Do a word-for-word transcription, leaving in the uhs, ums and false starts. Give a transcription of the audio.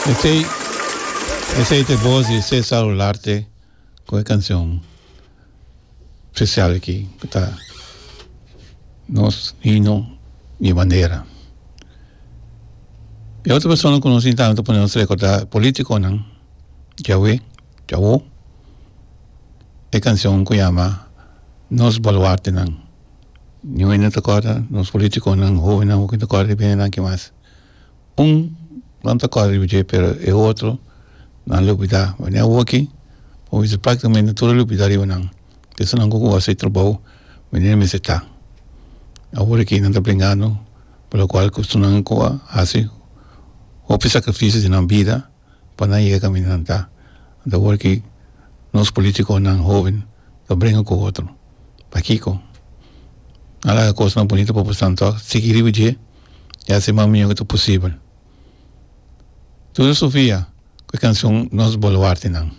Esei, esei ta e bos di Cesar Olarte ku e kanshon spesial aki ku ta Nos Himno di Bandera. E otro persona ku nos tin tambe ta pone nos rekordá politikonan djawe, djawo, e kanshon ku yama Nos Baluartenan. Niun hende ta kòrda nos politikonan hobennan hopi ta kòrda riba hende nan ki mas. Un nan ta kòrda riba dje pero e otro nan lubidá. Wanneer awoki bo bisa práktikamente tur a lubidá riba nan. Esunnan ku hasi trabou manera mester ta. Awor aki nan ta bringando pa lokual ku esunnan ku a hasi hopi sakrifisio di nan bida pa nan yega kaminda nan ta. Anto awor aki nos politikonan hoben ta bringa ku otro. Pakiko? Nan laga kosnan bunita pa boso tòg sigui riba dje i hasi mas mihó ku ta posibel. Tur Sofia ku e kanshon Nos Boluartenan.